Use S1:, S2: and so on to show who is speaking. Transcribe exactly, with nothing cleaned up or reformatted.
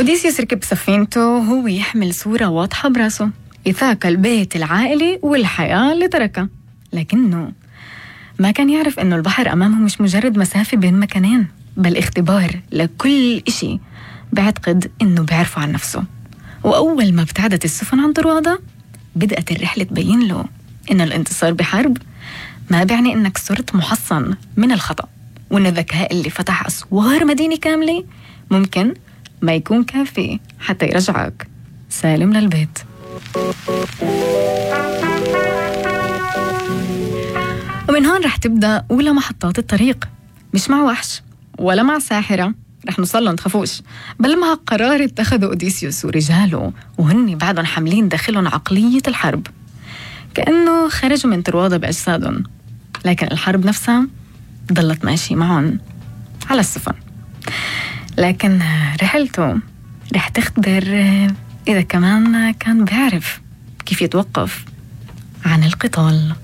S1: أوديسيوس ركب سفينته وهو يحمل صورة واضحة براسه، إيثاق البيت العائلي والحياة اللي تركها. لكنه ما كان يعرف إنه البحر أمامه مش مجرد مسافة بين مكانين، بل اختبار لكل إشي بعتقد إنه بيعرفه عن نفسه. وأول ما ابتعدت السفن عن طروادة بدأت الرحلة تبين له إن الانتصار بحرب ما بيعني إنك صرت محصن من الخطأ، وإن الذكاء اللي فتح أسوار مدينة كاملة ممكن ما يكون كافي حتى يرجعك سالم للبيت. ومن هون رح تبدأ أولى محطات الطريق، مش مع وحش ولا مع ساحرة رح نوصل لهم تخافوش، بل مع قرار اتخذوا أوديسيوس ورجاله وهن بعدهم حاملين داخلهم عقلية الحرب، كأنه خرجوا من طروادة بأجسادهم، لكن الحرب نفسها ضلت ماشي معهم على السفن. لكن رحلته رح تختبر إذا كمان كان بيعرف كيف يتوقف عن القتال.